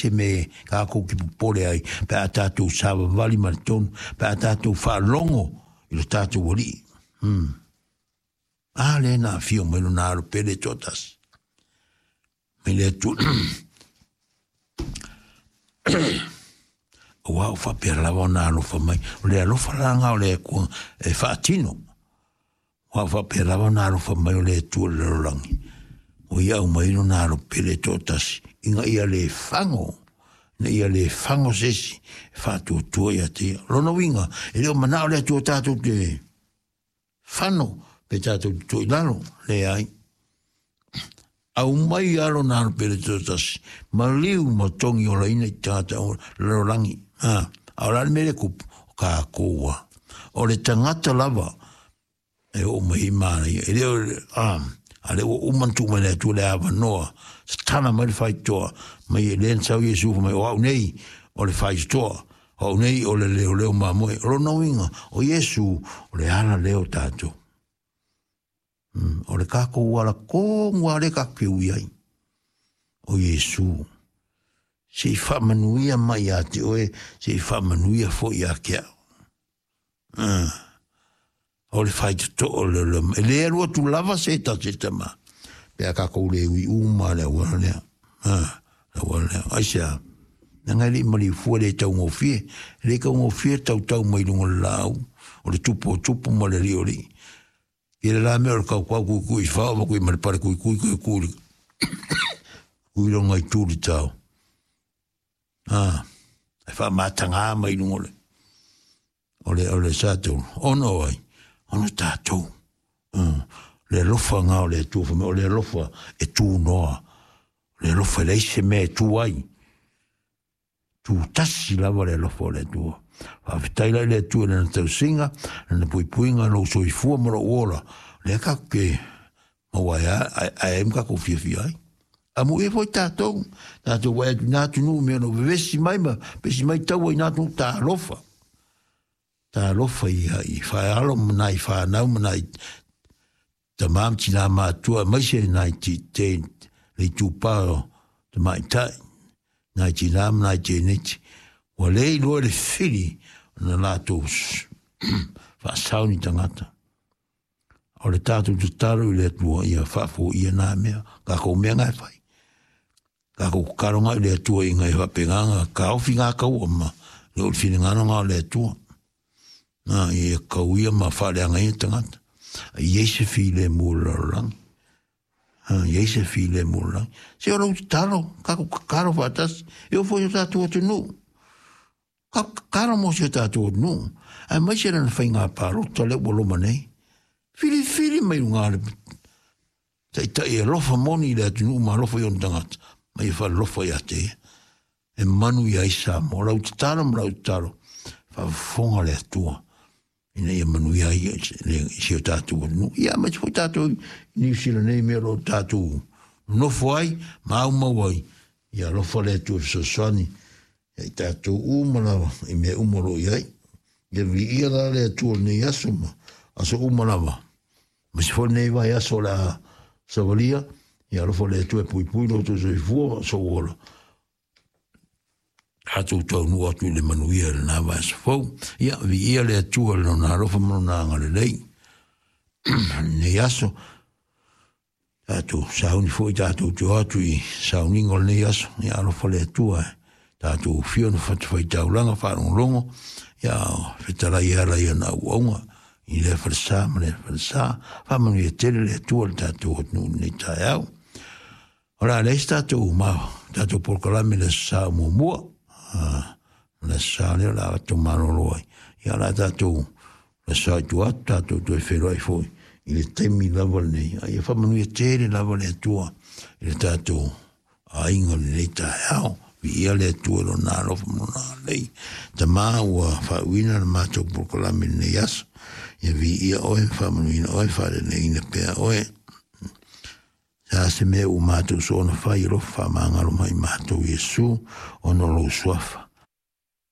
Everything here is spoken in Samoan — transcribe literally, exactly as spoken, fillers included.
se mea kākou ki popole ai, pe a tātou savavali ma le tonu, pe a tātou faalogo i lo tātou Alii. Hmm. A lea na afio mai lona Alo pele toatasi. Mai le Atua. Auā ua faapea lava ona alofa mai. O le alofa la lena o le Atua e faatino. Ua faapea lava ona alofa mai o le Atua i le lalolagi. Ua ia aumai lona Alo pele toatasi, ina ia le fago, ina ia le fago se isi e faatuatua ia te ia. Lona uiga, e le o manao le Atua tatou te fano pe tatou te tua i lalo, leai. Aumai lava lona Alo pele toatasi, maliu ma togi olaina i tagata o lalolagi. Ha, a o le a le mea lea e kupu? O kākou lava. O le tagata lava e oo mai ai manaia. E le o, a, a lea ua uma ona tuu mai le Atua le avanoa, tatala mai le faitotoa, mai e lea na sau Iesu fai mai, o au nei o le faitotoa, o au nei o le leoleo mamoe. O lona uiga, o Iesu o le ala lea o tatou. Mm, o le kākou ala tonu lava lea tatou te ui ai, o Iesu. Se i faamanuia mai ia te oe, se i faamanuia foi ia te au. Uh. O le faitotoo o le leoleo. E le alu atu lava se tasi e tama. Pe a kākou le ui uma le auala lea. Ha, le auala lea. Aisea, leaga e le i maliu fua, le taugofie. E le taugofie tautau mai luga o le laau. O le tupu o tupu ma le alii o alii. I le la mea o le kaukau kuikui i whao, ma kui ma le pare kuikui kui kui kui longa i tūri tau. Ha, e whaamatanga mai lunga o le o le o le satou ono ai ona tatou mm. Le alofa ngā o le Atua wha mea, o le alofa e tū noa, o le alofa e leai se mea e tū ai, tū tasi lava le alofa o le Atua. Faafetai la i le Atua i lana tausiga, lana puipuiga, lou soifua ma lou ola, lea tatou te maua ai a ae ai ma tatou fiafia ai. Amuia foi tatou, tatou vaai atu i nā atunuu mea o lo o vevesi mai ma pesi mai taua i nā atunuu, talofa. Talofa i i whaealo ma nai whanau ma nai tamā ma tinā mātua aemaise nai ti te le itupā o tamaitai, nai tinā ma nai tēneti. Ua le iloa le whiri o na lātou whaasau ni tangata. O le tātou tatalo i le Atua ia whaafoia nā mea, kākou mea ngā e whai. Kākou kakaronga i le Atua i ngai whapenganga, ka ofi ngā kaua ma le o le whiringano ngā o le Atua. Nā, ia kau ia ma whaaleanga ia tangata. A i ei se while mō le lalolagi. Ha, i ei se while mō le lalolagi. Se o lou tatalo, kākou kakaro whaatasi, e o foi o tātou atunuu. Kākou kakaro mō si o tātou atunuu. Aemaise lana whainga pālota lea ua loma nei. Whiriwhiri mai runga le taitai e alofa moni i le atunuu ma alofa i ona tagata, ma ia faalofa ia te ia. E manu ia i Samoa, lau tatalo ma lau tatalo, faafofoga le Atua ina ia manuia ai i si o tātou atunuu. Ia, aemaise foi tātou i Niu Sila nei mea o lo o tātou nofo ai ma aumau ai, ia alofa le Atua e fesoasoani ia i tātou uma lava i mea uma o lo o i ai. Ia viia la le Atua o lenei aso ma aso uma lava. Aemaise foi lenei vaiaso o le a savalia, ia alofa le Atua e puipui lo outou soifua ma sou ola. Tatou taunuu atu i le manuia i lena vaiaso fou. Ia, viia le Atua i lona alofa ma lona agalelei. Lenei aso, tatou sauni foi tatou te o atu i sauniga o lenei aso. Ia alofa le Atua e tatou ufia ona fatafaitaulaga faalogologo, ia fetalai e ala i ana auauga i lea falesa ma lea falesa. Faamanuia tele le Atua i le tatou atunuu i lenei taeao. O le a leai se tatou ma tatou polokalame i le aso Sa muamua. O le aso Sa lea o le a tatou malolo ai. Ia o le a tatou le aso Sa i tua atu, tatou toe feiloai foi i le taimi lava lenei. A ia faamanuia tele lava le Atua i le tatou aiga i lenei taeao. Viia le Atua i lona alofa ma lona agalelei. Tama ua faauuina le matou polokalame i lenei aso. Ia viia oe, faamanuina oe, faaleleiina pea oe. Se a se mea ua matou soona fai, alofa faamagalo mai matou Iesu, ona o lou suafa.